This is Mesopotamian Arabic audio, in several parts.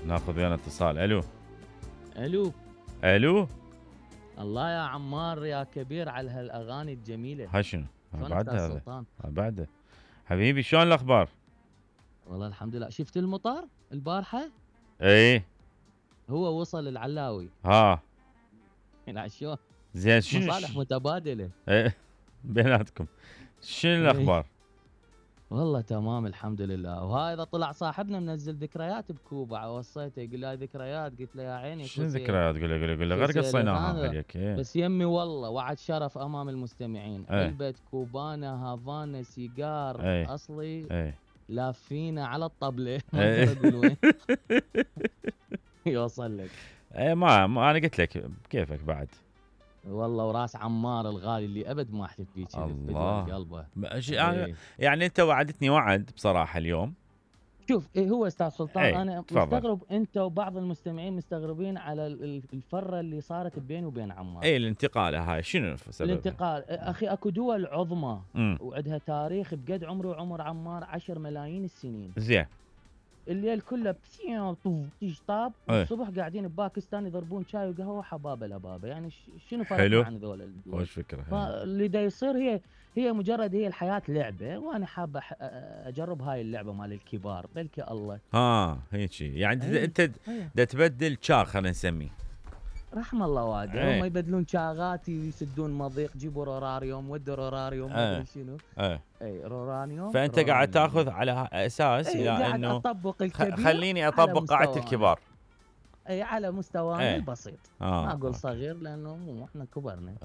ناخذ ويانا اتصال. الو الو. الو. الله يا عمار يا كبير على هالاغاني الجميله. هاي شنو؟ بعد هذا بعده حبيبي، شلون الاخبار؟ والله الحمد لله. شفت المطر البارحه؟ ايه هو وصل العلاوي. ها لا شو زين، شنو مصالح متبادله. ايه بيناتكم. شنو الاخبار؟ والله تمام الحمد لله. وهذا طلع صاحبنا منزل ذكريات بكوبا، وصيته يقول لي ذكريات، قلت له يا عيني شنو ذكريات؟ قول له غير قصيناها عليك. بس يمي والله وعد شرف امام المستمعين. علبه كوبانا هافانا سيجار اصلي لافينا على الطبله. ما اقول وين. يوصل لك. ما انا قلت لك كيفك بعد. والله وراس عمار الغالي اللي ابد ما احلف بيك. الله قلبه. يعني انت وعدتني وعد بصراحه اليوم. شوف هو استاذ سلطان، انا مستغرب انت وبعض المستمعين مستغربين على الفره اللي صارت بيني وبين عمار. الانتقال هاي شنو سببها؟ الانتقال اخي اكو دول عظمى وعندها تاريخ بقد عمري وعمر عمار 10 ملايين السنين. زين. الليل كله طاب الصبح قاعدين بباكستان يضربون شاي وقهوه حبابه لبابه. يعني شنو فرق عن ذول الدول؟ وش فكره؟ فاللي دا يصير هي مجرد الحياه لعبه، وانا حابه اجرب هاي اللعبه مال الكبار. بلكي الله هيك يعني انت دا تبدل شاغ، خلينا نسميه رحم الله والده. هم يبدلون شاغات يسدون مضيق، جيبوا روراريوم ودوا روراريوم ما ادري شنو. رورانيوم. فانت قاعد تاخذ على اساس الى انه اطبق الكبير، خليني اطبق قاعده الكبار. على مستوانا البسيط. ما اقول صغير لانه مو احنا كبرنا.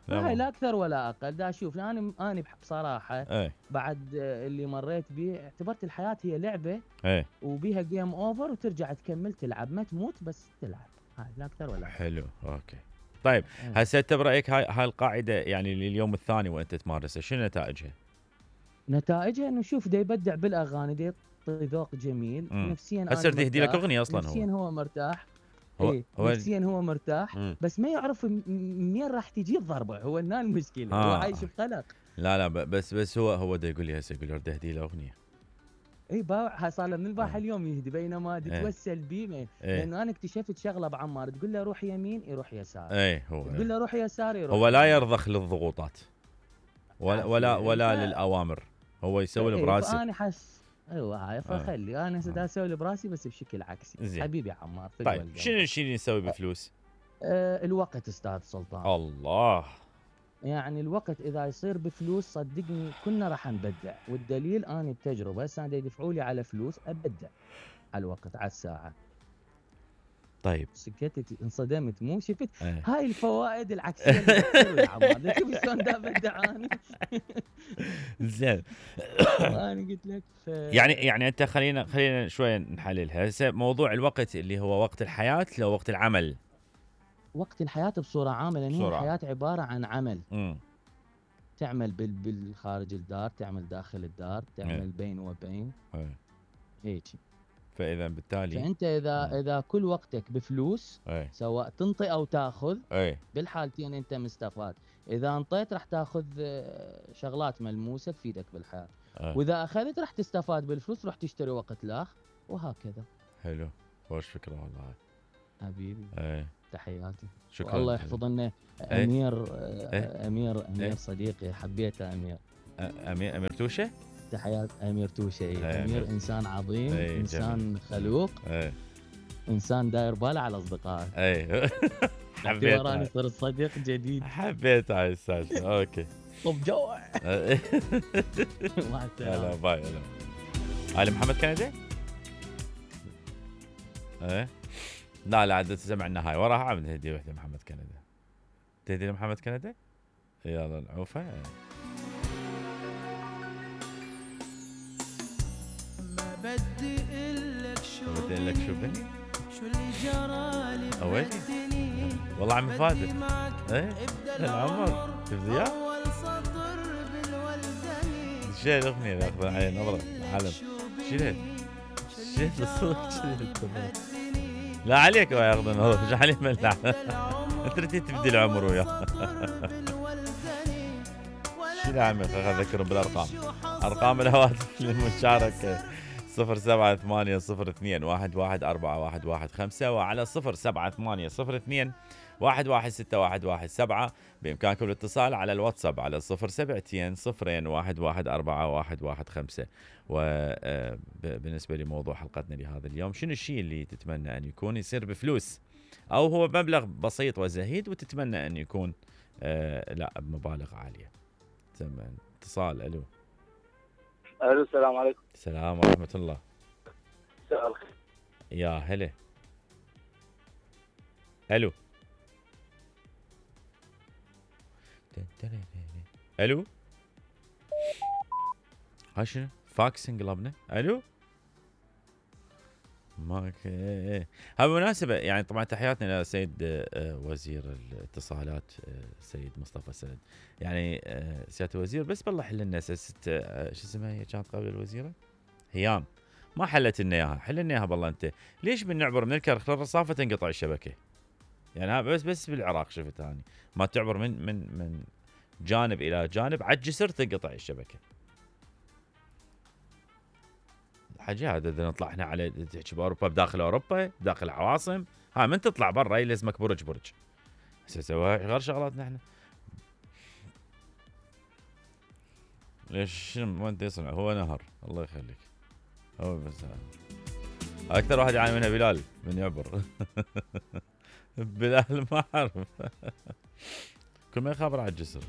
هاي لا اكثر ولا اقل. دا اشوف انا بصراحه بعد اللي مريت به اعتبرت الحياه هي لعبه وبيها جيم اوفر وترجع تكمل تلعب، ما تموت بس تلعب. هاي لا اكثر ولا اقل. حلو اوكي. طيب هسه انت برايك هاي القاعده يعني لليوم الثاني وانت تمارسها شنو نتائجها؟ نتائجها انه شوف دا يبدع بالاغاني، دا يعطي ذوق جميل. نفسيا هسه بدي اهدي لك اغنيه اصلا. نفسيا هو مرتاح. نفسيا هو مرتاح. بس ما يعرف منين راح تجي الضربه. هو هنا المشكله. هو عايش بقلق. لا بس هو دا يقول لي هسه يقول لي بدي اهدي له اغنيه. باوع صار له من البارحه اليوم يهدي، بينما تتوسل بيه. لانه انا اكتشفت شغله بعمار، تقول له روح يمين يروح يسار. هو تقول له روح يسار يروح. هو لا يرضخ للضغوطات ولا للاوامر، هو يسوي براسه. انا حس هاي فخلي انا دا اسوي براسي بس بشكل عكسي. حبيبي عمار. طيب شنو نسوي بفلوس؟ الوقت استاذ سلطان. الله. يعني الوقت اذا يصير بفلوس صدقني كنا راح نبدع، والدليل انا بتجربه هسه يدفعوا لي على فلوس ابدع على الوقت على الساعه. طيب سكتت انصدمت مو شفت هاي الفوائد العكسيه اللي تصير يا عمار. شوف شلون دا ابدع انا. زين. انا قلت لك يعني انت خلينا شويه نحللها. هسه موضوع الوقت اللي هو وقت الحياه لو وقت العمل؟ وقت الحياة بصورة عامة، لأن هي الحياة عبارة عن عمل. تعمل بالخارج الدار، تعمل داخل الدار، تعمل بين وبين. هيك. فإذا بالتالي فأنت إذا كل وقتك بفلوس سواء تنطي أو تاخذ بالحالتين أنت مستفاد. إذا انطيت راح تاخذ شغلات ملموسة تفيدك بالحياة. وإذا أخذت راح تستفاد بالفلوس، راح تشتري وقت لاخ وهكذا. حلو. وش فكرة والله حبيبي. تحياتي. شكرا. الله يحفظ لنا امير. امير صديقي حبيته. امير توشه. تحيات امير توشه. امير انسان عظيم. انسان خلوق. انسان داير باله على اصدقائه. حبيت وراني صرت صديق جديد. حبيت هاي السالفه. اوكي. طب جوع. مع السلامه. هلا باي. هلا محمد كندي. لا عاد سمعنا هاي وراها عم نهدي وحده محمد كندي. تهدي لمحمد كندي؟ يلا العوفه. ما بدي اقول لك شو بني؟ شو اللي جرالي بدني والله عم فادي. العمر شوف زياد اول سطر بالولدني. شيل الاغنيه ياخذ علي نظره العالم. شيل الصوت. لا عليك ياخذ نظره. ايش عليه ملح. انت تريد تبدي العمر وياه. شو يا عمي اذكرهم بالارقام. ارقام الهواتف للمشاركه 07802114115 وعلى 07802116117 بإمكانكم الاتصال على الواتساب على 07201114115. وبالنسبة لموضوع حلقتنا لهذا اليوم، شنو الشيء اللي تتمنى أن يكون يصير بفلوس أو هو مبلغ بسيط وزهيد وتتمنى أن يكون لا بمبالغ عالية؟ اتصال. ألو السلام عليكم. السلام ورحمة الله. مساء الخير. يا هلا. ألو ألو هاي شنو فاكس انقلبنا. ألو ماك. هاي بالمناسبة يعني طبعا تحياتنا لسيد وزير الاتصالات سيد مصطفى سند. يعني سيادة الوزير بس بالله حل لنا شو اسمها هي كانت قبل الوزيرة هيام، ما حلت لنا اياها. حل لنا اياها بالله. انت ليش بنعبر من الكرخ للرصافة تنقطع الشبكة؟ يعني ها بس بالعراق شفت هاني ما تعبر من جانب الى جانب على الجسر تنقطع الشبكة. حاجة هذا نطلع احنا على تحكي باوروبا بداخل اوروبا داخل العواصم. ها من تطلع برا يلزمك برج سوي غير شغلاتنا احنا. ليش ما انت يصنع هو نهر الله يخليك. هو بس اكثر واحد يعاني منها بلال من يعبر. بلال ما اعرف كل ما يخابر على الجسر.